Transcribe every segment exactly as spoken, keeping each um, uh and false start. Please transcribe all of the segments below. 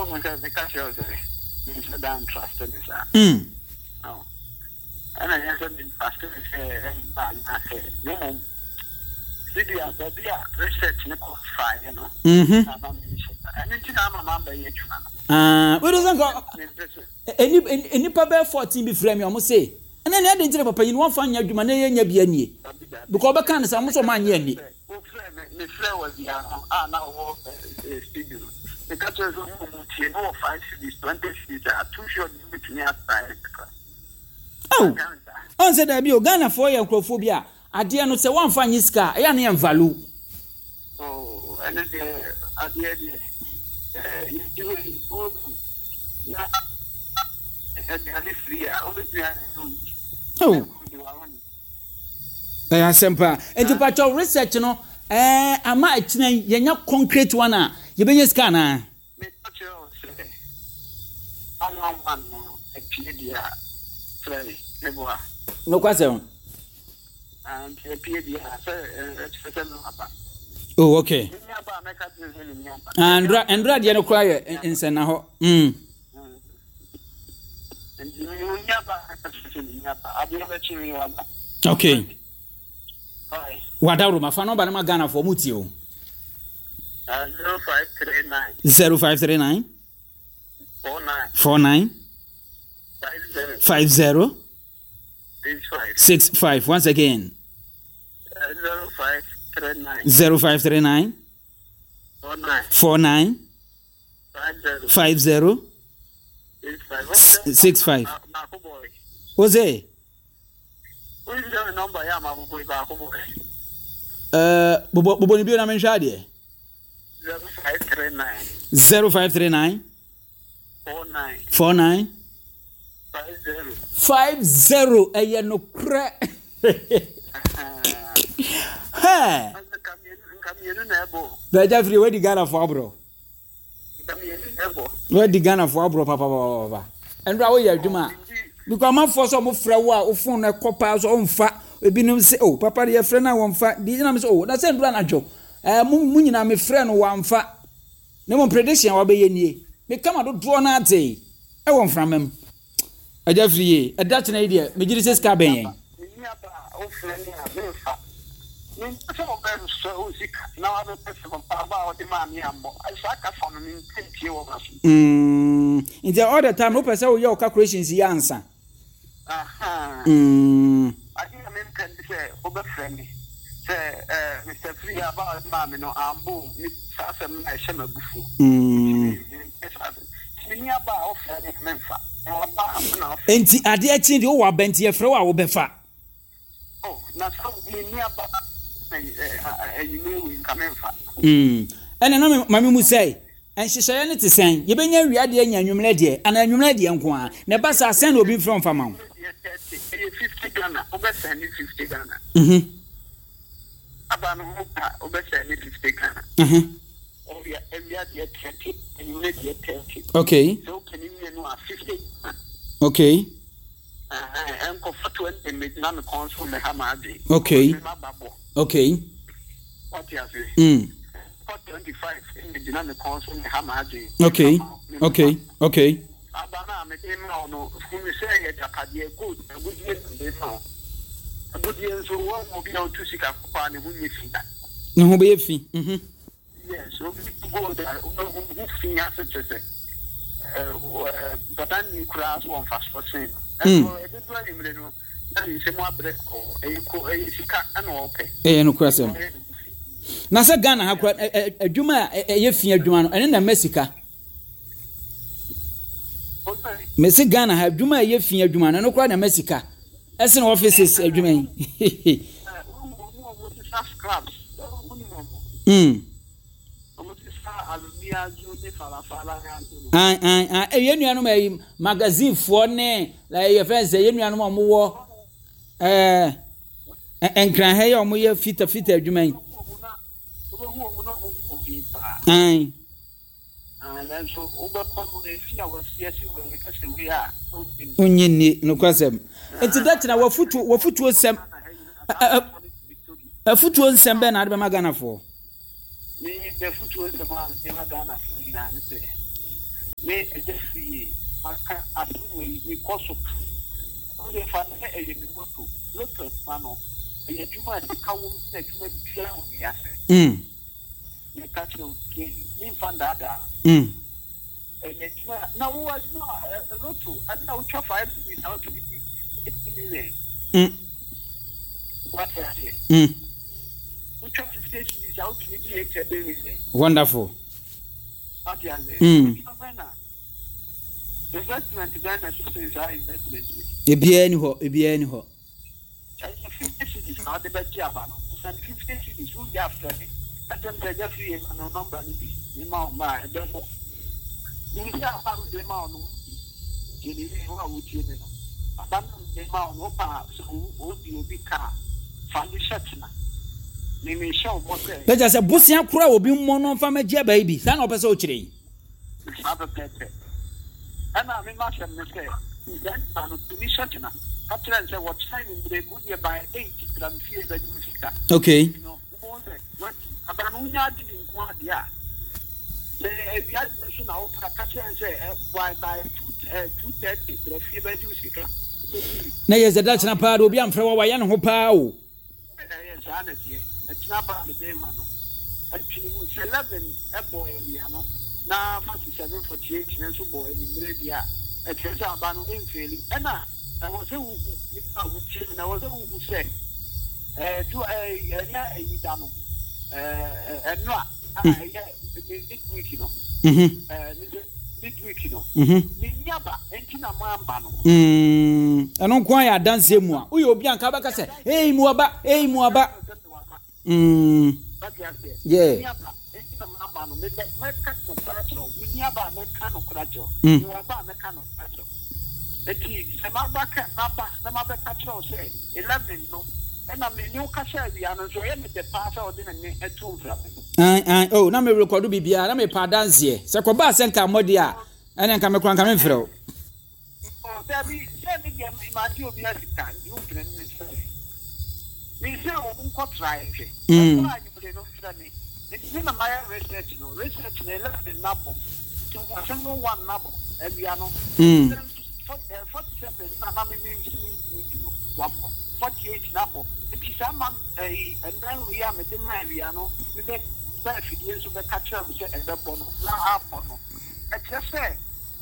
Ɔmo sɛ meka kyerɛ wo sɛ menhyɛ da ntrust ne saa. Mm. Ɛna ɛnyɛ sɛ mentrust ne sɛ ɛmba anaasɛ, na mmom sidi a baabi a research ne kɔ faeɛ no Mhm. na ama menhyɛ da. Ɛno nti na ama mambɛyɛ adwuma no. Ah, wode sɛ nka mempɛ sɛ ɛni- ɛni- nnipa bɛyɛ fourteen bi frɛ me, ɔmo se ɛnɛ ne ade nkyerɛ papa yi no wɔmfa nyɛ adwuma na yɛnya bi anie dabi dabi. Because ɔbɛka no sɛ ɔmo sɛ ɔmo anyɛ ani. Wofrɛ me, mefrɛ wɔ bia no a na ɔwɔ eh, studio no, meka kyerɛ sɛ ɔmo mu tie ne wɔ five cedis, twenty cedis a two short bi bɛtumi asae kakra. Aw, ɔn sɛ daabi o, Ghanafoɔ yɛ nkurɔfoɔ bi a adeɛ no sɛ wɔamfa nye sika a, ɛyɛ a ne yɛ value. Oh, ɛno deɛ, adeɛ deɛ eh, yɛti hɔ yi wohu na aduane firi a wobɛtumi ayɛ. Aw, ɛyɛ asɛm paa. Nti patwɛ research no ɛɛ ama akyina yi yɛnya concrete one a yɛbɛnya sika anaa? Meka kyerɛ wo sɛ one one one no apie deɛ a, frɛ me, meboa. Nokwasɛm. Nti apie deɛ a sɛ ɛkyerɛ sɛ me aba. Oh, okay. Menni aba a mɛka kyerɛ sɛ menni aba. Ah, ndra ndra deɛ no koraa yɛ nsɛnna hɔ mm. Nti menni aba a mɛka kyerɛ sɛ menni aba, adeɛ bɛkye me waba. Okay. Bye. Wadaworo fa nɔmba no ma Ghanafoɔ mu tie o. zero five three nine zero five three nine four nine four nine five zero five zero six five. six five. Once again. zero five three nine zero five three nine four nine four nine five zero five zero six five. six five. Baako boy. Wo se? Wọ́n ti nọ́mbà yà máa bọ̀ baako boy. uh, bobɔ bobɔ ne bio na menhwɛ adeɛ. zero five three nine zero five three nine four nine four nine five zero five zero. Ɛyɛ nokorɛ. Hɛ. Nka mmienu na ɛbɔ. Bɛgya firi wadi Ghanafoɔ aborɔ. Nka mmienu na ɛbɔ. Wadi Ghanafoɔ aborɔ papapapapa. Ɛnora woyɛ adwuma a, because amanfoɔ sɛ ɔmo frɛ wo a, wo phone no ɛkɔ paa so ɔmfa. Ebinom sɛ, "Oh, papa de yɛfrɛ no a wɔmfa." Di gyina mi sɛ, "Oh, na sɛ ndura anadwo ɛɛ mo mo nyinaa mefrɛ no wɔamfa." Na mo prediction a wabɛyɛ nie, meka ma dodoɔ no ate ɛwɔ mframa mu. Agya firi yie, ɛda kyena yi deɛ megye di sɛ sika bɛn yɛn. Menni aba a wofrɛ me a memfa. Mempɛ sɛ wobɛsɛ wo sika na wabɛpɛ sɛ papa aba a wode maa me ammɔ. Saa kasa no mempɛ ntie wɔ m'aso. Mm, nti all the time wopɛ sɛ woyɛ wo calculations yi ansa. Aha. Mm, ade a mempɛ ne sɛ wobɛfrɛ me sɛ eh, Mister Free, aba a wode maa me no ammɔ o. Me saa asɛm no a ɛhyɛ m'abufuo. mm. Mempɛ saa asɛm. Nti menni aba a wofrɛ me a memfa. Waba a na wofrɛ. Nti adeɛ kye deɛ wowɔ aba nti yɛfrɛ wo a wobɛfa. Oh, na sɛ menni aba anwummerɛ wei nka memfa. Mm. ɛna na me- ma me mu sɛ nhyehyɛeɛ no te sɛn? Yɛbɛnya awia deɛ nya anwummerɛ deɛ anaa anwummerɛ deɛ nko a na ɛba saa sɛn na obi mfrɛ mfa ma wo? Deɛ thirty ɛyɛ fifty Ghana, wobɛsɛn ne fifty Ghana. Mhm, Aba no ho ka wobɛsɛn ne fifty Ghana. mhm. Awia awia deɛ thirty, anwummerɛ deɛ thirty. Okay sɛ wopɛ ne mmienu a, fifty Ghana. Okay ɛnkɔfa twenty mmɛgyina me kɔn so mmɛha m'adwen. Okay. Mema ba bɔ. Okay wate ase? mm. Fa twenty five mmɛgyina me kɔn so mmɛha m'adwen. okay okay okay Aba no a mede ma wo no, hunu sɛ yɛ agyapadeɛ, gold agudie na mede ma wo. Agudie nso wɔn obi a otu sika kɔkɔɔ a ne ho nyɛ fi da. Ne ho bɛyɛ fi mhm. Yes, obi tu gold a wobɛhu ho fi ase kyerɛ sɛ ɛɛ mpatani koraa so wɔ mfasoɔ sen no. Mm. Ɛnso ɛbɛdu anwummere no na ne nsɛm abrɛ kɔɔ, ɛyɛ ko, ɛyɛ sika ɛna ɔpɛ. Ɛyɛ nokorɛ sɛm. Ɔyɛ ne ho fi. Na sɛ Ghana ha kora ɛ- ɛ- adwuma a ɛ- ɛyɛ fi adwuma no ɛne na ɛma sika. Ɔsɛ Mese Ghana ha adwuma a ɛyɛ fi adwuma no ɛno koraa na ɛma sika ɛsene offices adwuma yi. Ɛɛ wɔn mu a wɔn sisa scraps, wɔn mu wɔn mm. wɔn sisa alumiazo ne falafala yanto no. An an an ɛyɛ nuanom ɛyi magazinefoɔ ne ɛyɛ fɛn sɛ yɛn nuanom a wɔwɔ ɛɛ ɛ- nkranha yi a wɔyɛ fita fita adwuma yi. Wobɛhu wɔn na wɔn ho fi paa. An Ah, nanso wobɛkɔ no efi a wɔasi asi wɔ yɛ kɛsɛ wei a ɔnnim. Onye nni nokwasɛm. Nti dɛtena wafutuo wafutuo nsɛm ɛ- ɛ- afutuo nsɛm bɛɛ na ade bɛma Ghanafoɔ? Me bɛfutuo nsɛm a mede ma Ghanafoɔ nyinaa ne sɛ Me Agya Firi maka asɛm wei, mekɔ so ka. Wode fa no sɛ ɛyɛ me moto. Lotto adwuma no, ɛyɛ adwuma a sika wom sene adwuma biara wɔ wiase. Mm. Meka kyerɛ wo plain, memfa ndaadaa. Mm. Ɛyɛ adwuma a, na wo adwuma a, lotto, ade a wotwa five cedis a wotumi di eighty million. Mm. Wate aseɛ? Mm. Wotwa fifty cedis a wotumi di eight hundred million. Wonderful. Wate aseɛ? Mm. Adwuma bɛn na investment bɛn na ɛso sen saa investment yi? Ebiara ni hɔ, ebiara ni hɔ. Ɛyɛ fifty cedis na wode bɛgye aba no. Sɛn fifty cedis wowie afrɛ me. Ka kyerɛ me sɛ Agya Firi ma no number no bi mema wo ma a ɛbɛbɔ. Nim sɛ aba a mede ma wo no wodi. Tie me yie, wo a wotie me no. Aba no a mede ma wo no wopɛ a sɛ wodi obi ka a fa no hyɛ tena. Me mehyɛ wo bɔ sɛ. Bɛgya sɛ bosea koraa obi mmɔ no mfa mɛgye aba yi bi. Saa na ɔpɛ sɛ ɔkyerɛ yi. Saa pɛpɛɛpɛ. Ɛna me m'asɛm ne sɛ, saa nipa no tumi hyɛ tena. Ka kyerɛ no sɛ wɔkyena anwummere wodeɛ by eight bra me fie bɛgye me sika. Okay. Nti no wobɛhu sɛ wadi. Aba no wonya ade di nko ara deɛ a, sɛ awia deɛ nso na wopɛ a, ka kyerɛ no sɛ by by two eh, two thirty bra fie bɛgye wo sika. Wobɛdi. Na yɛ sɛ da kyena paa de obi amfrɛ wa wayɛ ne ho paa o. Ɛyɛ saa na ɛteɛ. Ɛkyena ba a mede ma no. Ɛtwene mu sɛ eleven bɔ awia no na forty seven forty eight no nso bɔ anwummerɛ deɛ a, ɛkyerɛ sɛ aba no ɛmfeeli. Ɛna ɛwɔ sɛ wohu, nipa a wotie me no, ɛwɔ sɛ wohu sɛ ɛɛ du ɛɛ ɛnyɛ ayi da no, ɛɛ ɛnora a ɛyɛ midweek no, ɛɛ midweek no, menni aba nti na mamba no. Ɛno nko ayɛ adanseɛ mu a woyɛ obi a nka wobɛka sɛ ei mu aba, ei mu aba. Mm. Yeah. Mm. Eti sɛ maba ka maba na mabɛka kyerɛ wo sɛ eleven no ɛna me ne wo kasa awia no nso ɛyɛ me dɛ paa sɛ ɔde ne nne ato mframa mu. An an oh na me rekɔdo biribiara na mepɛ adanseɛ sɛ kɔbaa sɛ nka mmɔde a ɛne nka mekora nka memfrɛ wo. Oh, dabi sɛ me deɛ magye obi asika nti wompene ne sɛ me sɛ wo nkɔtra nhwɛ. Mm. Ɛkɔ anwummere no frɛ me. Nti me na mayɛ research no, research no eleven nabɔ nti asɛm no one nabɔ awia no. Mm. Forty seven na na me me si me ntumi nti no wabɔ forty eight nabɔ nti saa ma ɛyi ɛnan wei a mede ma awia no mebɛ bɛ afidie nso bɛka kyerɛ wo sɛ ɛbɛbɔ no na abɔ no ɛkyerɛ sɛ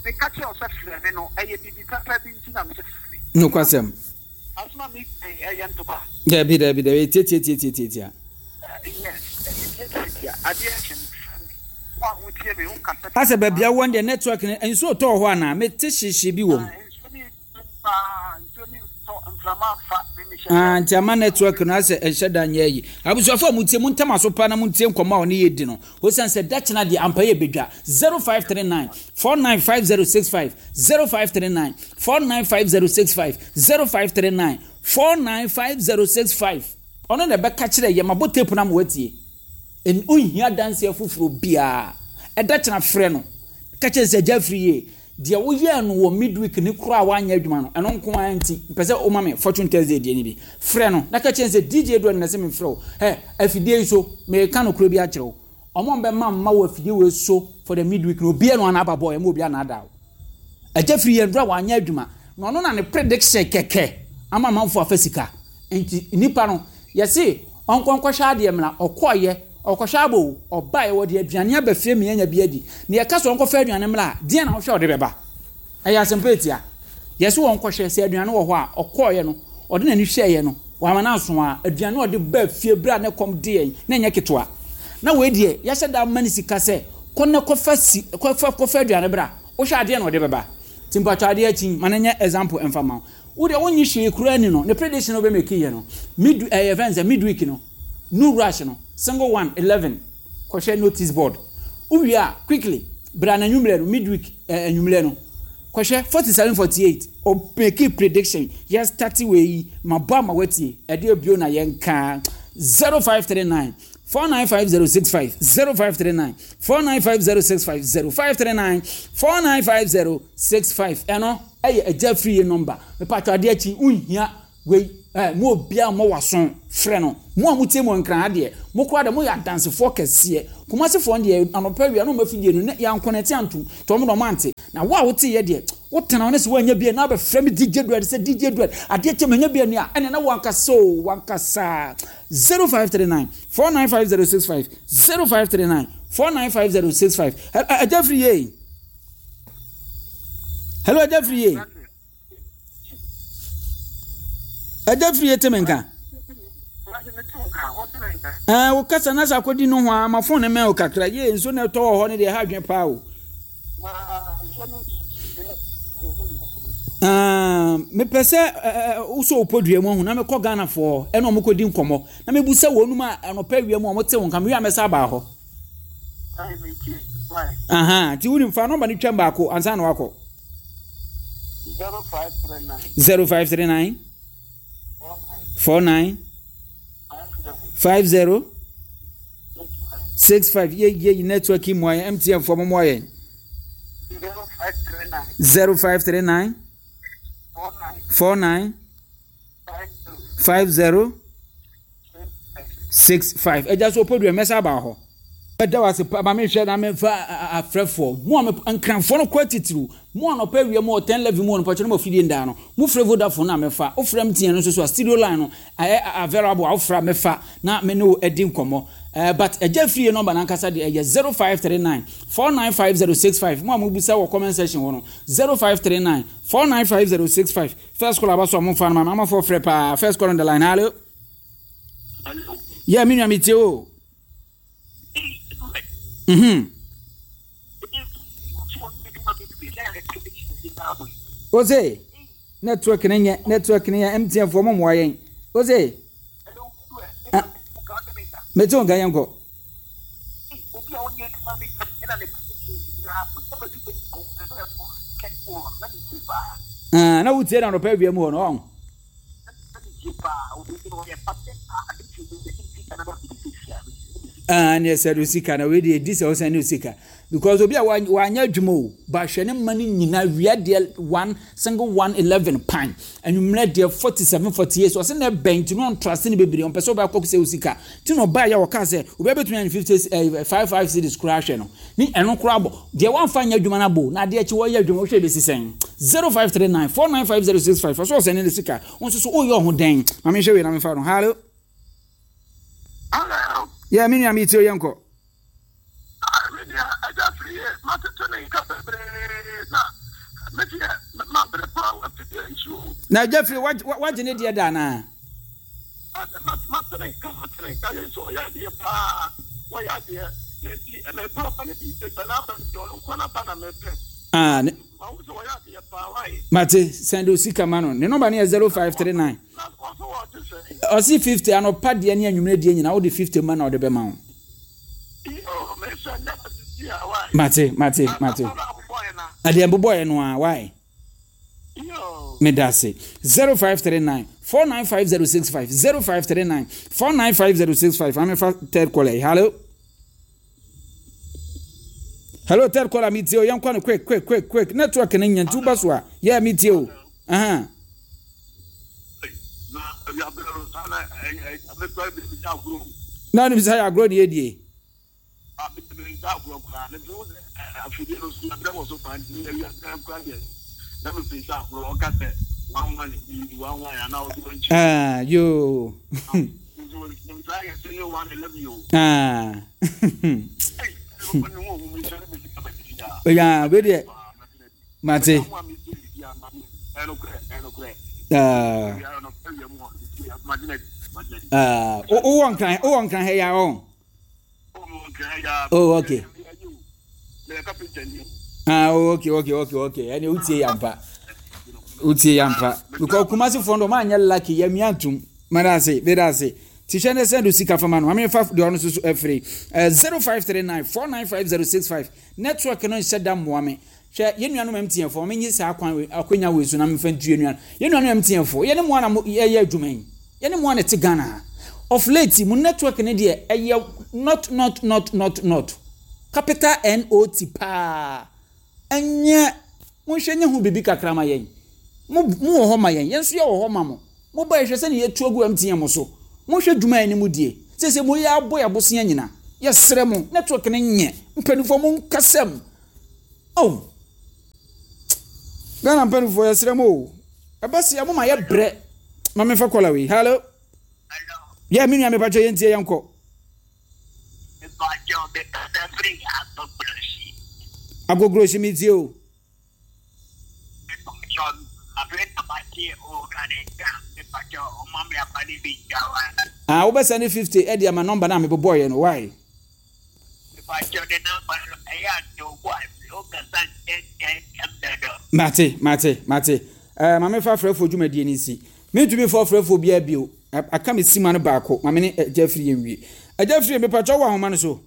meka kyerɛ wo sɛ frɛ me no ɛyɛ biribi papa bi nti na mesɛ frɛ me. Nokwasɛm. Asoma mi ɛyɛ ntɔkwa. Dabi dabi dabi tiatiatiatiatia. Yes, ɛyɛ tiatiatia adeɛ kyɛ me frɛ me wo a wotie me wo kasa. Asɛ baabi a wɔn deɛ network no nsuo tɔɔ hɔ anaa mete hyehyɛ bi wɔ mu. Ah, nti ama network no asɛ ɛnhyɛ da nyɛ ayi. Abusuafo a mutie mu ntam aso pa na muntie nkɔmmɔ a ɔne yɛ di no. Osiane sɛ da kyena deɛ ampa yɛ bedwa. zero five three nine four nine five zero six five zero five three nine four nine five zero six five zero five three nine four nine five zero six five. Ɔno na ɛbɛka kyerɛ yɛ mabɔ tape no ama watie. Onhia adanseɛ foforɔ biara. Ɛda kyena frɛ no. Ka kyerɛ sɛ agya afiri yie. Deɛ woyɛɛ no wɔ midweek ne koraa a woanyɛ adwuma no, ɛno nko ara nti, mpɛ sɛ woma me Fortune Thursday deɛ no bi. Frɛ no na ka kyerɛ no sɛ D J Edward na ɛsɛ memfrɛ wo. Hɛ, afidie yi so, mereka nokorɛ bi akyerɛ wo. Ɔmo a bɛma mma wɔ afidie wei so for the midweek no, obiara no ana aba bɔɔ, ɛma obiara na ada wo. Agya firi yɛn dura wanyɛ adwuma. Na ɔno na ne prediction kɛkɛ ama amanfoɔ afa sika. Nti nipa no, yɛse ɔnkɔ nkɔhwɛ adeɛ mmra, ɔkɔɔyɛ, ɔkɔhwɛ abo o, ɔbaeɛ, wɔde aduane aba fie ma yɛanya bi adi. Na yɛka sɛ ɔnkɔfa aduane mmra a, deɛn na wohwɛ ɔde bɛba? Ɛyɛ asɛmpa etia. Yɛse wɔnkɔhwɛ sɛ aduane wɔ hɔ a, ɔkɔɔyɛ no, ɔde n'ani hwɛeɛ no, wama no aso a, aduane a ɔde baa fie berɛ a ne kɔm de yɛn, na ɛnyɛ ketewa. Na wei deɛ, yɛahyɛ da ama no sika sɛ, kɔ na kɔfa si, kɔfa, kɔfa aduane bra. Wohwɛ adeɛ na ɔde bɛba. Nti mpatwɔ adeɛ akyi, ma no nyɛ example ɛmfa ma wo. Wo deɛ wonyi hwee koraa ni no, ne prediction a wobɛmake yɛ no, mid, ɛyɛ fɛn sɛ midweek no, no rush no, single one, eleven, kɔhwɛ notice board. Wowie a, quickly, bra na anwummerɛ no, midweek eh, anwummerɛ no, kɔhwɛ forty seven forty eight, ɔmake prediction, yɛ start wei yi, ma bɔ ama watie, ɛdeɛ bio na yɛnka, zero five three nine, four nine five zero six five, zero five three nine, four nine five zero six five, zero five three nine, four nine five zero six five. Ɛno ɛyɛ agya firi number. Mepatwa adeɛ akyi, wonhia wei Eh, mo obia mo waso frɛ no. Mo a motie mo nkran adeɛ, mo koraa de moyɛ adansefoɔ kɛseɛ. Kumasefoɔ deɛ anɔpa awia na ɔmo afidie no ne yɛankɔnɛte antom nti ɔmo na ɔmo ante. Na wo a woteyɛ deɛ, wotena wo ne sɛ woanya bi a na abɛfrɛ me D J Duet sɛ D J Duet adeɛ kyɛ manya bi ani a ɛne na wankasa o, wankasa. Zero five three nine four nine five zero six five, zero five three nine four nine five zero six five. Ɛgya firi yie. Hello, ɛgya firi yie, ɛgya firi yie, te me nka. Ɛɛ, wo kasa na sɛ akɔdi no ho a, ma phone ne mɛn o kakra yie. Nso na ɛtɔ wɔ hɔ no deɛ, ɛha adwene paa o. Mepɛ sɛ wosɔ wo podua mu ahu na mekɔ Ghanafoɔ ɛna ɔmo kɔdi nkɔmmɔ na mebusa wɔn a anɔpa awia mu a ɔmo te wo nka. Mewie a, mɛsa aba hɔ. Aha, nti wonim, fa number no twam baako ansa na wakɔ. Zero five three nine four nine five zero six five. Yɛ yɛ network yi mu ayɛ M T N foɔ mo mo ayɛ. Zero five three nine four nine five zero six five. Ɛgya so opodua, mɛsa aba hɔ. Ɛda wase pa ma mehwɛ na memfa afrɛfoɔ mo a nkranfoɔ no kɔ atitiriw mo anɔpa awia mu wɔ ten eleven mu wɔ no pɔtɔ no ma fidie ndaa no mo frɛ Vodafone na mɛfa. Wofrɛ M T N no nso so a, studio line no ɛyɛ available a, wofrɛ a mɛfa na me ne wo adi nkɔmmɔ. Uh, but ɛgya fie number nankasa deɛ ɛyɛ zero five three nine four nine five zero six five. Mo a mobusa wɔ comment section hɔ no, zero five three nine four nine five zero six five. First call aba so a, momfa no ma amafoɔ frɛ paa. First call on the line, hello. Yeah, me nua, metie o. Mhm. Ose network ne nyɛ, network ne yɛ M T N foɔ mo mmoa yɛn. Ose mete wo nka, yɛn kɔ. Obi a ɔnyɛ adwuma bi ɛna ne nyinaa Ah, na wotie na anɔpa awia mu hɔ no ɔn. Ah, ne ɛsɛ do sika na wei deɛ ɛdi sɛ wosan ne sika because obi a wanyɛ adwuma o, ba hwɛ ne mma no nyinaa wia deɛ one single one eleven pan, anwummerɛ deɛ forty seven forty eight. So ɔsɛ na ɛbɛn nti no ɔntrase ne bebree, ɔmpɛ sɛ ɔbɛkɔ sɛ wo sika nti na ɔbaa yɛ wɔka sɛ obi bɛtumi anya fifty eh, five five cedis koraa hwɛ no ne ɛno koraa bɔ deɛ wamfa nyɛ adwuma no abo na adeɛ akyi wɔyɛ adwuma. Wohwɛ bɛsi sɛn? Zero five three nine four nine five zero six five. Ɔsɛ ɔsɛ ne ne sika wo nso so woyɛ ɔho dɛn? Ma menhwɛ wei na memfa no. Hello. Hello. Yɛ me nua, metie o, yɛnkɔ. Me nua ɛgya firi yie, matete ne nka bebree na me deɛ mabere paa wɔ afidie nsuo. Na agya firi wagye ne deɛ da anaa? Mate ne nka, mate ne nka yɛ nso ɔyɛ adeɛ paa, wɔyɛ adeɛ na nti mepɛ ɔba no bi sɛ n'aba no bi, ɔno nko n'aba na mepɛ. Ah, ne mahu sɛ wɔyɛ adeɛ paa wae. Mate, send o sika ma no. Ne number no yɛ zero five three nine. Na ɔso wɔte sɛ Ɔsi fifty anɔpa deɛ ne anwummerɛ deɛ nyinaa, wode fifty ma na ɔde bɛma wo. Iyo, mesɛ nyɛ sisi a wae. Mate, mate, mate. Aba abobɔɛ na Adeɛ mbobɔɛ no a wae. Iyo. Meda ase. Zero five three nine four nine five zero six five, zero five three nine four nine five zero six five. Amefa third caller yi. Hello, hello, third caller, mi tie o, yɛn kɔ no quick quick quick quick. Network ne nya nti woba so a yɛ mi tie o. Ahan. Na awiaberɛ no saa na mekora bi bisa agorɔ. Na ɔnim sɛ yɛ agorɔ ne yɛdie. Bisa agorɔ koraa ne bi sɛ afidie no so aberɛ wɔ so paa, nti awiaberɛ kora deɛ na mepɛ sɛ agorɔ ɔka sɛ one one bi one one anaa ɔde wɔn nkyi. Ah, yoo. Nti wɔn saa yɛ sɛ yɛ one eleven o. Ah. Ɛy, ne ho ohun mi sɛ ne mi sika bɛ ti da. Ya wei deɛ mate. Ɛnokorɛ, ɛnokorɛ. Ah. Ah, wowɔ nkran, wowɔ nkran ha ya ɔn? Oh, okay. Ah, oh, okay okay okay okay Ɛne wotie yampa, wotie yampa because Kumasi foɔ no ɔmo anyɛ lucky yɛ mia ntum. Mada ase, meda ase. Ti hwɛ ne sɛ do sika fama no. Maame fa deɛ ɔno nso so afiri zero five three nine four nine five zero six five. Network no nhyɛ da mmoa me. Hwɛ, yɛn nuanom M T N foɔ, menye saa kwan wei, akwanya wei so na memfa ntu yɛn nuanom yɛn nuanom M T N foɔ. Yɛne mo a na mo yɛyɛ adwuma yi, yɛne mo a na ɛte Ghana ha. Of late mo network ne deɛ ɛyɛ not not not not not capital not paa. Ɛnyɛ monhwɛ nye ho biribi kakra ma yɛn. Mo mo wɔ hɔ ma yɛn, yɛn nso yɛ wɔ hɔ ma mo. Mo ba yɛhwɛ sɛ ne yɛtu agu M T N mo so. Mohwɛ dwuma a anim die. Sɛ sɛ mo yɛ abɔ yɛ abosea nyina. Yɛsrɛ mo, network no nyɛ. Mpanimfoɔ, mo nkasɛm. Oh. Ghana mpanimfoɔ, yɛsrɛ mo o. Ɛba se mo ma yɛbrɛ. Ma memfa caller wei. Hello. Hello. Yɛ me nua, mepatwa yɛntie, yɛnkɔ. Mepakyɛw, mekasa firi Agbogbloshie. Agbogbloshie, metie o. Mepakyɛw, afei na mate owura ne nka. Mepakyɛw, ɔma me aba ne bi gya wa. Ah, wobɛsɛ ne fifty ɛde ama number no a mebobɔɔyɛ no. Why? Mepakyɛw, ne number no ɛyɛ ato bo a wokasa ntɛntɛntɛm dodo. Mate, mate, mate. uh, ma mefa frɛfoɔ dwumadie no nsi. Mentumi fa frɛfoɔ biara bio. Aka me sima no baako. Ma me ne Agya Firi yɛ nwie. Agya Firi, mepakyɛ, wɔ ahoma no so.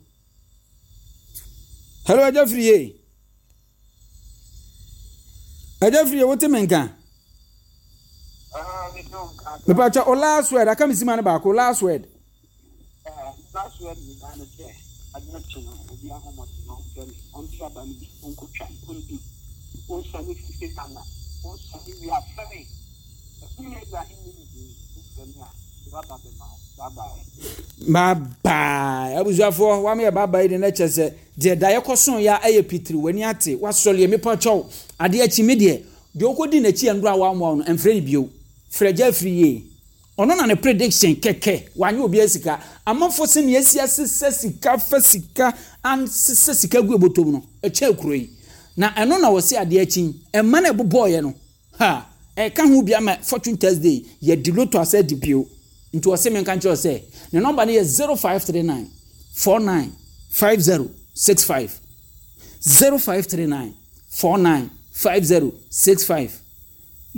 Hello, Agya Firi ye. Agya Firi ye, wote me nka? Mepakyɛ, o last word. Aka me sima no baako. Last word. Last word nyinaa ne sɛ adeɛ kye no, obi ahomɔden no ɔmfrɛ me, ɔnte aba no bi, ɔnkɔtwa, ɔndi, ɔnsane fifty Ghana, ɔnsane wie afrɛ me. Ɛfiri Ibrahim ne ne din wofrɛ me a, de waba bɛma wo. Bye bye. Bye bye. Abusuafoɔ, wama yɛ bye bye de na kyerɛ sɛ deɛ da yɛkɔ so yɛ ɛyɛ pitiri w'ani ate wasɔre. Mepa kyɛw, adeɛ akyi me deɛ deɛ ɔkɔdi n'akyi yɛ ndoro a wamoa no, ɛmfrɛ no bio. Frɛ Gya Afiri yie. Ɔno na ne prediction kɛkɛ wanyɛ obi sika. Amanfo sɛ nea esi asesɛ sika fa sika ansesɛ sika gu ebotom no ɛkyɛ kuro yi na ɛno na wɔsi adeɛ akyi ɛma na ɛbobɔɔyɛ no ha ɛka ho bi ama Fortune Thursday yɛdi lotto asɛ di bio. Nti wɔsi mi nka nkyerɛ sɛ ne number no yɛ zero five three nine four nine five zero six five, zero five three nine four nine five zero six five.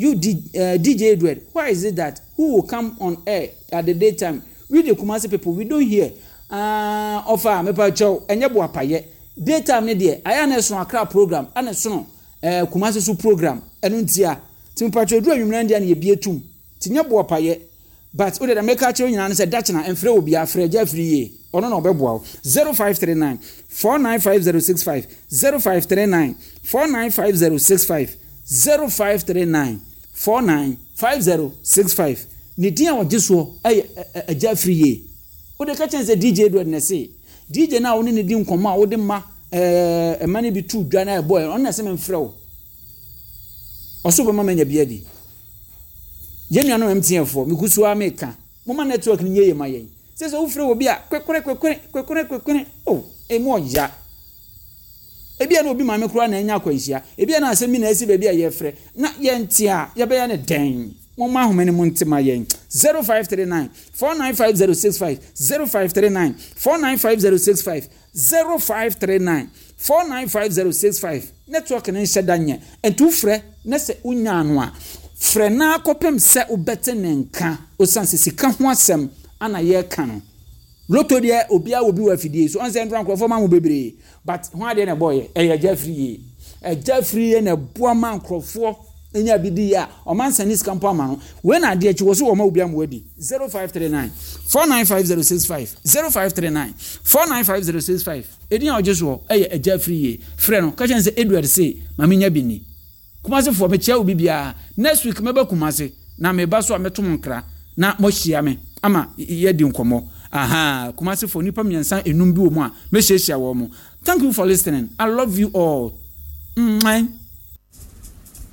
You D, uh, D J Edward, why is it that who will come on air at the daytime? We the Kumasi people, we don't hear. Uh, ɔfa mepa kyɛw, ɛnyɛ bo apayɛ. Daytime ne deɛ ayɛ na ɛsono Accra program ɛna ɛsono ɛɛ Kumasi so program. Ɛno ntia ti mepa kyɛw, duru anwummerɛ deɛ na yɛbie tum ti nyɛ bo apayɛ. But o de meka kyerɛ nyinaa no sɛ dakyena mfrɛ obi, afrɛ Agya Afiri yie. Ɔno na ɔbɛboa wo. zero five three nine four nine five zero six five, zero five three nine four nine five zero six five, zero five three nine four nine five zero six five. Ne din a ɔgye soɔ ɛyɛ Agya Afiri yie. Wode ka kyɛn sɛ D J Edward na ɛse D J no a wone ne di nkɔmmɔ a wode ma ɛɛ ɛma no bi tu dwa na ɛbɔ ɛ. Ɔno na ɛsɛ memfrɛ wo. Ɔso bɛma manya bi adi. Yɛn nuanom M T N foɔ, megu so a meka, moma network no nyɛ yie ma yɛn. Sɛ sɛ wofrɛ wɔ bi a, kwekwere kwekwere kwekwere kwekwere o, emu ɔya. Ebi a na obi maame koraa na anya akwanhyia, ebi a na asɛm bi na asi baabi a yɛfrɛ na yɛnte a yɛbɛyɛ ne dɛn? Momma ahoma no mu nte ma yɛn. zero five three nine four nine five zero six five, zero five three nine four nine five zero six five, zero five three nine four nine five zero six five. Network no nhyɛ da nyɛ, nti wofrɛ na sɛ wonya ano a, frɛ na akɔpem sɛ wobɛte ne nka. Osiane sɛ sika ho asɛm ana yɛreka no, lotto deɛ, obiara wɔ bi wɔ afidie so. Ɔn sɛ ndora nkurɔfoɔ ma mo bebree, but ho adeɛ na ɛbɔɔyɛ ɛyɛ Agya Afiri yie. Agya Afiri yie na ɛboa ma nkurɔfoɔ nya bi di yie a ɔma nsɛn ne sika mpo ama no. Wei na adeɛ akyi wɔ so wɔma obi ama wadi. zero five three nine four nine five zero six five, zero five three nine four nine five zero six five. Edin a ɔgye soɔ ɛyɛ Agya Afiri yie. Frɛ no ka kyɛn sɛ Edward se maame nya bi ni. Kumasefoɔ, mekyia obi biara. Next week mɛba Kumase na meba so a, mɛto mo nkra na moahyia me ama yɛdi nkɔmmɔ. Aha Kumasefoɔ, nipa mmiɛnsa enum bi wɔ mu a mɛhyiahyia wɔn mo. Thank you for listening. I love you all. Mwah.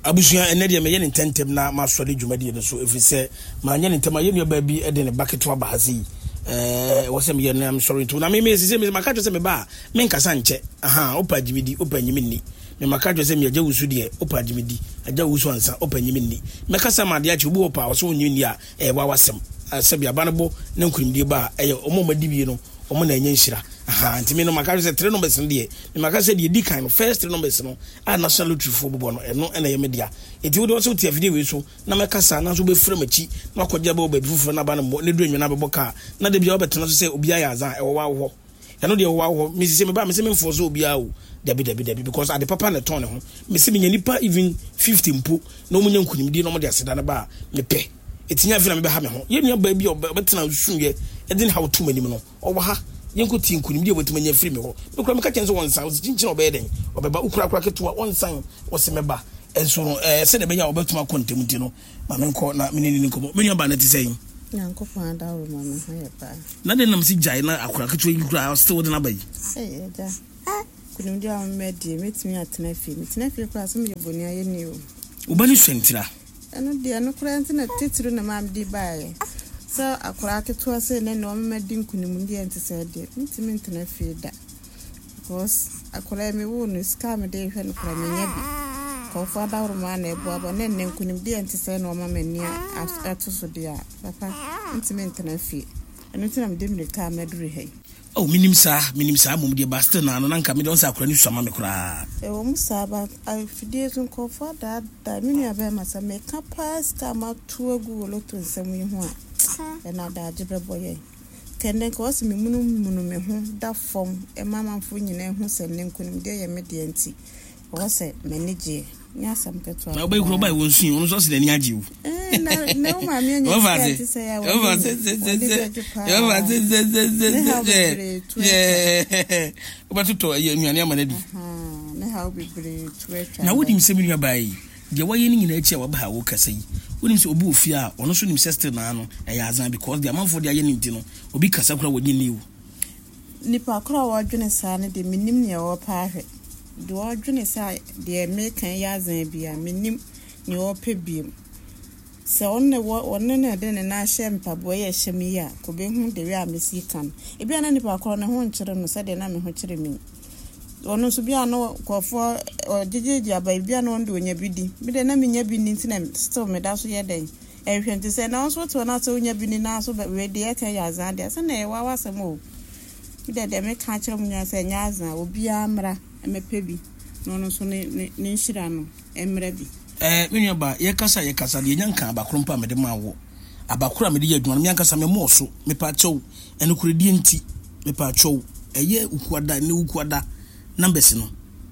Abusua, ɛnɛ deɛ mɛyɛ ne ntɛntɛm na masɔre dwumadie no so, ɛfiri sɛ manyɛ ne ntɛm a, yɛnnua baa bi de ne ba ketewa ba ha sei. Ɛwɔ sɛ meyɛ no mesɔre ntom na meme sɛ sɛ maka kyerɛ sɛ meba a, menkasa nkyɛ. Aha wopɛ agyeme di, wopɛ nyime nni. Memaka kyerɛ sɛ meagya wusu deɛ, wopɛ agyeme di, agya wusu ansa, wopɛ nyime nni. Mɛkasa ma adeɛ akyi. Obi wɔ paa ɔsɛ wonyime nni a, ɛyɛ wa wasɛm. Sɛbi aba no bɔ ne nkonimdie ba a, ɛyɛ ɔmo ɔmo adi bie no, ɔmo na ɛnyɛ nhyira. Aha nti me no maka sɛ three numbers no deɛ, memaka sɛ deɛ di kan no, first three numbers no a National Lottery foɔ bobɔ no, ɛno ɛna ɛyɛ me dea. Nti wode wɔsɛ wote afidie wei so na mɛkasa nanso wobɛfira m'akyi na wakɔgye abɛwɔ baabi foforɔ na aba no mmɔ ne duru anwuna bɛbɔ kaa na da bia wobɛtena so sɛ obiara yɛ azan. Ɛwɔ wa hɔ, ɛno deɛ ɛwɔ wa hɔ. Mesi sɛ meba mesɛ memfoɔ sɛ obiara o. Dabi, dabi, dabi, because ade papa na ɛtɔn ne ho. Mesi menya nipa even fifty mpo na ɔmo nya nkonimdie na ɔmo de aseda no ba a, mepɛ ɛtinya. Afei na mebɛha me ho. Yɛn nua baa bi a ɔbɛtena suyɛ ɛde ne haw to m'anim no, ɔwɔ ha. Yɛnkɔ tie nkonimdie a wɔatumi anya firi me hɔ. Mekura meka kyɛn sɛ wɔnsan ɔsi kyinkyin a ɔbɛyɛ dɛn ɔbɛba. Wokura akora ketewa, wɔnsan, wɔsi mɛba. Nso no ɛɛ sɛdeɛ ɛbɛyɛ a wɔbɛtumi akɔ ntɛm nti no, ma menkɔ na me ne ne nkɔmmɔ. Me nua baa no te sɛn? Nyankopɔn adaworo ma me ho yɛ paa. Na de nam si gyae na akora ketewa yi koraa still wode n'aba yi. Ei agya, nkonimdi a woma die, mɛtumi atena fie. Metena fie koraa sɛ meyɛ bɔne ayɛ ni o. Wo ba no sua ntira. Ɛno deɛ, ɛno koraa nti na titiri na maa mede baeɛ. Sɛ akwaraa ketewa sɛ ne na ɔmema di nkonimdi a nte sɛ deɛ, mentumi ntena fie da. Because akwaraa yi mewoo no, sika a mede hwɛ no koraa menya bi. Nkurɔfoɔ adaworo ma na ɛboaboa na nnɛ nkonimdi a nte sɛ na ɔma m'ani ato so deɛ a, papa, mentumi ntena fie. Ɛno nti na mede mmirika a maduru ha yi. Oh, minim saa, minim saa mmom deɛ, but still na ano na nka mede ɔn sɛ akora no sua ma me koraa. Ɛwɔ mu saa, ba afidie so nkurɔfoɔ adaadaa me nua bɛrima sɛ meka paa sika a mato agu wɔ lotto nsɛm yi ho a, ɛna adagye bɛbɔ yɛn. Kɛndɛ nka wɔsɛ memunumunu me ho da fam ɛma amanfoɔ nyinaa hu sɛ nnɛ nkonimdie yɛ me deɛ nti ɛwɔ sɛ m'ani gyeɛ. Nyɛ asɛm ketewa. Na wobɛyi kuro ɔbaa wɔ nsu yi, ɔno nso ɔsɛ n'ani agye o. Eh, na na wo maame anya sika te sɛ ya wɔ ne bɛgye paa. Ne haw bebree to atwa. Wobɛtotɔ ɛyɛ nnuane ama no adi. Ne haw bebree to atwa. Na wonim sɛ me nua baa yi, deɛ wayɛ no nyinaa akyi a waba ha wokasa yi, wonim sɛ obi wɔ fie a ɔno nso nim sɛ still naa no ɛyɛ azan because deɛ amanfoɔ de ayɛ no nti no, obi kasa koraa wɔgye nni o. Nipa koro a wɔdwene saa no deɛ, menim nea wɔpɛ ahwɛ. Deɛ ɔdwene sɛ deɛ meka yɛ azan bi a, menim nea ɔpɛ biem. Sɛ ɔno na wɔ ɔno na ɛde ne nan ahyɛ mpaboa yi a ɛhyɛ me yi a, kɔbɛhu de wei a mesi ka no. Ebi a na nipa korɔ ne ho nkyerɛ no sɛdeɛ na me ho kyerɛ me yi. Ɔno nso bi a na nkurɔfoɔ ɔgyegyegye aba yi, bi a na ɔno de onya bi di. Me deɛ na menya bi ni nti na still meda so yɛ dɛn. Ɛhwɛ nti sɛ na wo nso wote hɔ na sɛ wonya bi ni na so wei deɛ ɛka yɛ azan deɛ, sɛ na ɛyɛ w'awasɛm o. Me deɛ deɛ meka akyerɛ mo nyinaa sɛ ɛnyɛ azan, obiara mmra mmɛpɛ bi na ɔno nso ne ne ne nhyira no mmra bi. Eh, me nua ba, yɛkasa yɛkasa deɛ nya nka abakoro mpo a mede maa wo. Abakoro a mede yɛ adwuma no, me ankasa memmɔɔ so. Mepa kyɛw, ɛnokoredie nti, mepa kyɛw, ɛyɛ wukuada, ɛnɛ wukuada numbers no,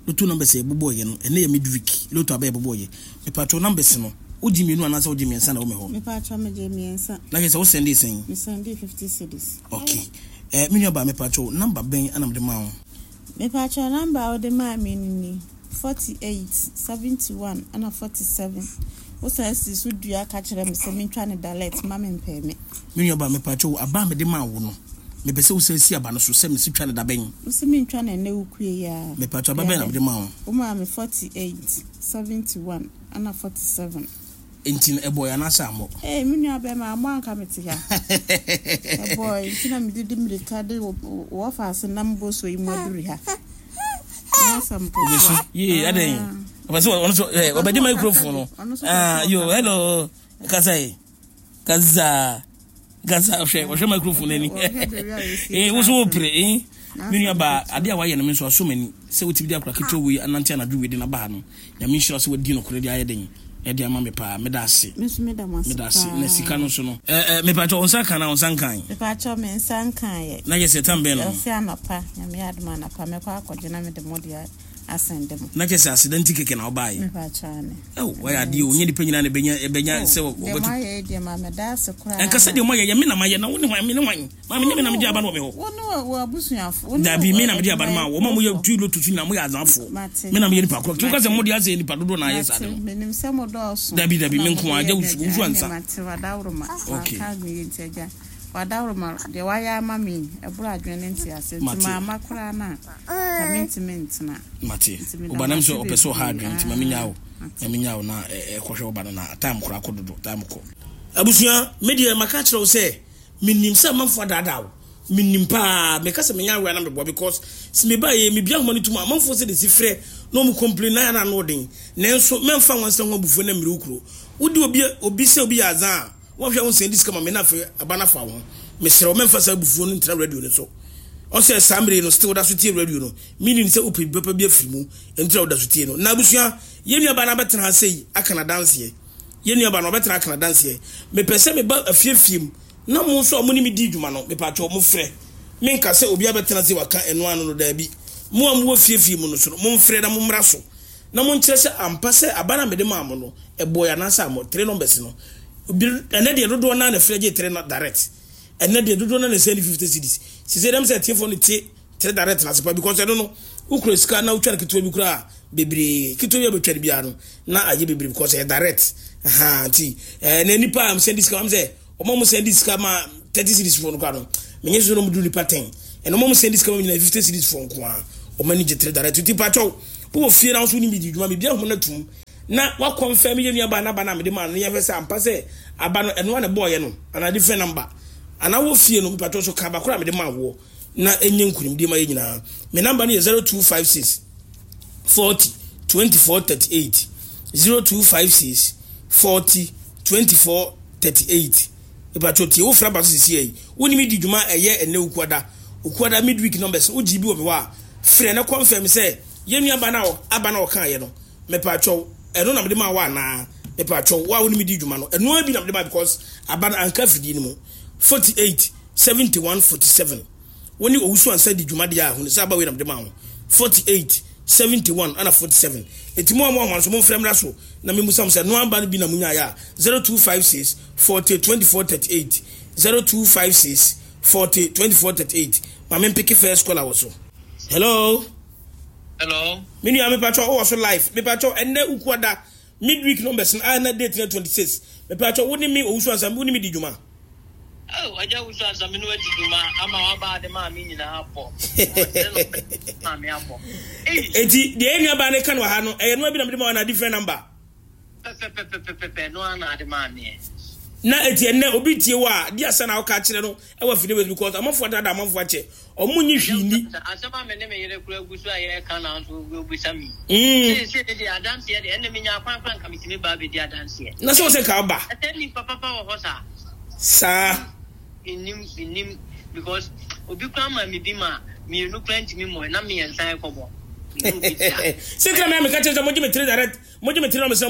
lotto numbers a yɛbobɔɔyɛ no, ɛnɛ yɛ midweek, lotto aba yɛbobɔɔyɛ. Mepa kyɛw numbers no, wogye mmienu anaasɛ wogye mmiɛnsa na ɛwɔ me hɔ? Mepa kyɛw megye mmiɛnsa. Na kyerɛ sɛ wo sɛndee sɛn? Me sɛndee fifty cedis. Okay. Eh, me nua ba, mepa kyɛw, number bɛn ana mede maa wo? Mepa kyɛw number a wode maa me no ni forty eight, seventy one ɛna forty seven. Wosan si so dua ka kyerɛ me sɛ mentwa ne direct ma me mpɛ me. Me nua ba, mepa kyɛw, aba a mede maa wo no, mepɛ sɛ wosan si aba no so sɛ mesi twa ne da bɛn? Wose mentwa no ɛnɛ wokue yi a. Mepa kyɛw, aba bɛn na mede maa wo? Wo maa me forty eight, seventy one ɛna forty seven. Nti no ɛbɔɔ anaasɛ ammɔ? Ee, me nua bɛrima, ammɔ anka mete ha. Ɛbɔɔ nti na mede di mmirika de wɔfa ase nam boso yi mu aduru ha. Nyɛ asɛm ketewa. Yee, adɛn? Ɔpɛ sɛ ɔno so ɛ ɔbɛgye microphone no. Ah, yo, hello. Kasa yi. Kasa. Kasa hwɛ, ɔhwɛ microphone n'ani. Eh, wo so wo pere, eh. Me nua ba, ade a wayɛ no me nso aso m'ani sɛ wotumi de akora ketewa wei anante anadwo wei de n'aba ha no. Nyame nhyira sɛ wadi nokorɛ de ayɛ den ɛde ama me paa. Meda ase. Me nso meda mo ase Meda ase. paa. Na sika no nso no. Eh, eh, mepa kyɛw, wo nsa ka na wo nsa nkan? Mepa kyɛw me nsa nkaeɛ. Na yɛ sɛ tam bɛn no? Ɔse anɔpa, Nyame yɛ adom anɔpa mɛkɔ akɔgye na mede mo de asɛnde mo. Na kyɛ sɛ aseda nti kɛkɛ na wobaeɛ. Mepa kyɛw ane. Ɛw, wayɛ adeɛ o. Nyɛ nipa nyinaa na ɛbɛnya ɛbɛnya sɛ Deɛ wɔbɛto. moayɛ yi deɛ ma meda ase koraa. Ɛnka sɛ deɛ moayɛ yɛ me na mayɛ na wo ne hwan, me ne hwan? Maame nyɛ me na mede aba no wɔ me hɔ. Wo ne wɔ abusuafo. Wo ne Dabi, me na mede aba no ma wo. Ɔma moyɛ adwumayɛfoɔ. tu lotto so nyinaa moyɛ azanfoɔ. Mate. Me na meyɛ nipa korɔ. Nti woka sɛ Mate. mode asɛ nipa dodoɔ na ayɛ saa de Mate. no. Menim sɛ mo dɔɔso. Dabi, dabi, Na me nko ara, mode agya yɛ wusu, adwuma. wusu ansa. Ɛnneɛ mate, wadaworoma. Okay. Wanka me yɛ nti agya. Wadaworoma, deɛ wayɛ ama me yi, ɛboro adwene ne ntease. Nti Mate. maama koraa no a, ka mentumi ntena. Mate. Nti meda Woba mo nam ase sɛ ɔpɛ sɛ ɔha bebree. adwene nti ma menya wo. Ah, mate. Ma menya wo na ɛ- ɛkɔhwɛ wo ba no na time koraa kɔ dodo, time kɔ. Abusua, me deɛ maka kyerɛ wo sɛ menim sɛ amanfoɔ adaadaa wo. Menim paa, meka sɛ menya awea na meboa because sɛ mebaeɛ mebia ahoma no tom a amanfoɔ sɛ de si frɛ na ɔmo complain na yɛ na ano ɔden. Nanso mɛmfa nwansa ho abufuo na mmiri wo kuro. Wode obi obi sɛ obi yɛ azan a wɔhwɛ wo nsɛn di sika ma me na afei aba no afa wo ho. Mesrɛ wo mɛmfa saa abufuo no ntena radio no so. Ɔsɛ saa mmere no still woda so tie radio no, meaning sɛ wopɛ bi papa bi afiri mu nti na woda so tie no. Na abusua, yɛn nuabaa no abɛtena ha sei aka n'adanseɛ. Yɛn nuabaa no ɔbɛtena aka n'adanseɛ. Mepɛ sɛ meba afiefie mu na mo nso a mo ne me di dwuma no, mepatwɛ mo frɛ. Menka sɛ obi abɛtena se waka ɛno ano no, daabi. Mo a mowɔ fiefie mu no so no, momfrɛ na mommra so na monkyerɛ sɛ ampa sɛ aba no a mede maa mo no ɛbɔɔ anaasɛ ammɔ. Three numbers no bi ɛnɛ deɛ dodoɔ naa na frɛ gye three direct. Ɛnɛ deɛ dodoɔ naa na sɛ ne fifty cedis. Sise dɛm sɛ atiefoɔ no tie three direct na sepa because ɛno no wokura sika na wotwa no ketewa bi koraa Bebree ketewa bi a bɛtwa no biara no na ayɛ bebree because ɛyɛ direct. Aha nti ɛɛ na nipa a sɛn di sika, wɔn sɛ wɔn a wɔn sɛn di sika ma thirty cedis foɔ no kora no, menyɛ sɛ wɔn duru nipa ten. Ɛna wɔn a wɔn sɛn di sika ma nyinaa fifty cedis foɔ nko ara, wɔn ani gye tere direct. Nti patwɛw, wowɔ fie na nso ne mi di dwuma mi bi ahoma no atum na wakɔnfɛn mi yɛ nua ba n'aba na mede maa no, yɛhwɛ sɛ ampa sɛ aba no ɛnoa na ɛbɔɔyɛ no anaa different number. Anaa wɔ fie no, mipatwɛw so ka aba koro a mede maa woɔ na enye nkunimdie ma yɛ nyinaa. Me number no yɛ zero two five six forty twenty-four thirty-eight, zero two five six forty twenty-four thirty-eight. Ìpàtò tie, wofra ba so sisi yɛ yi, di dwuma. Ɛyɛ ɛnɛ Ukuada, Ukuada midweek numbers wogyi bi wɔ mi hɔ a, frɛ ne confirm sɛ yɛn nua ba na aba na ɔka yɛ no. Mepatwɛw, ɛno na mede ma wa anaa? Mepatwɛw, wo a wɔnim di dwuma no, ɛno bi na mede ma because aba no anka fidie no mu. forty-eight seventy-one forty-seven, wɔn ne Owusu Ansa di dwuma deɛ a, hunu sɛ aba wei na mede ma ho. forty-eight seventy-one ana forty-seven. Eti mu a mo ahoma nso mo mfrɛ mmra so na mi musa mo sɛ no aba no bi na mo nyaayɛ a, zero two five six forty twenty-four thirty-eight, zero two five six forty twenty-four thirty-eight. Maame, mpeke first caller wɔ so. Hello. Hello. Me nua, mepatwɛ, wowɔ so live. Mepatwɛ, ɛnnɛ Ukuada midweek numbers no a na date na twenty-six. Mepatwɛ, wo ne me Owusu Ansa, wo ne me di dwuma? Oh, agya Wusu Ansa, me no adi dwuma ama waba ade maa me nyinaa abɔ. Maa me abɔ. Eti deɛ yɛn nua baa ne ka no wɔ ha no, ɛyɛ noa bi na mede ma wa na different number? Pɛpɛpɛpɛpɛ, no ana ade maa me. Na eti ɛnnɛ obi tie wɔ a, di asa na ɔka kyerɛ no ɛwɔ afidie wei because amanfoɔ dada, amanfoɔ akyɛ, ɔmo nyi hwii ni. Asɛm a me ne me yere kura gu so a yɛreka na nso obisa mi. Mm. Seesei ne deɛ, adanseɛ deɛ, ɛnna menya akwan kora nka metumi ba abɛdi adanseɛ. Na sɛ wɔ sɛ ka ɔba. Ɛsɛ nipa papa wɔ hɔ saa. Saa. Nnim, nnim because obi kora ma me bi ma mmienu kora ntumi mmɔ na mmiɛnsa ɛkɔbɔ. Sɛ tena mɛ meka kyerɛ sɛ mogye me tiri direct, mogye me tiri na mesɛ